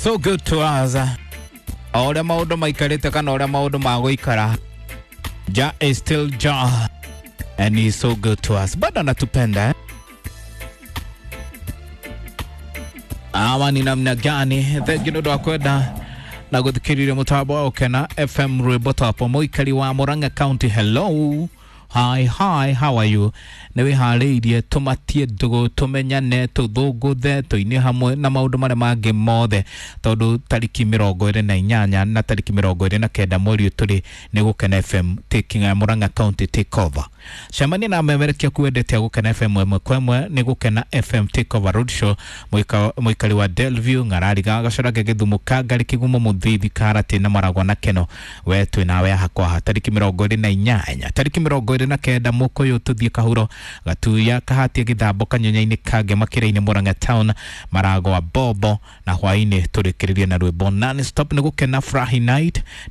So good to us. O ũrĩa maũndũ maikarĩte kana ũrĩa maũndũ magũikara, Jah is still Jah and he is so good to us. Bado anatupenda, eh? Ama ni namna gani? Thank you nĩ ũndũ wa kwenda na gũthikĩrĩria mũtambo wa Ũkena FM rwĩmbo tapo mũikari wa Murang'a County. Hello. Hi, hi, how are you? Nĩ wĩharĩirie tũmatie ndũgũ, tũmenyane, tũthũngũthe, tũine hamwe na maũndũ marĩa mangĩ mothe, tondũ tariki 28 na tariki 29 mweri ũyũ tũrĩ nĩ Gũkena FM taking Murang'a County take over. Cemania na memerekia kuendete Gũkena FM ĩmwe kwa ĩmwe nĩ Gũkena FM take over road show. Mũikari wa Delview, Ng'arariga, Gacorage, Gĩthumo, Kangari, Kĩgumo, Mũthithi, Karati na Maragwa na Keno, we twĩ nawe haha kwa haha tariki 28, tariki 29 Mũkũyũ, tũthiĩ Kahuro, Gatuya, Kahatia, Gĩthambo, Kanyonyo-inĩ, Kange, Makĩra-inĩ, Murang'a Town, Maragwa, Bobo, na hwaĩ-inĩ tũrĩkĩrĩrie na rwĩmbo non stop nĩ Gũkena Furahi Night.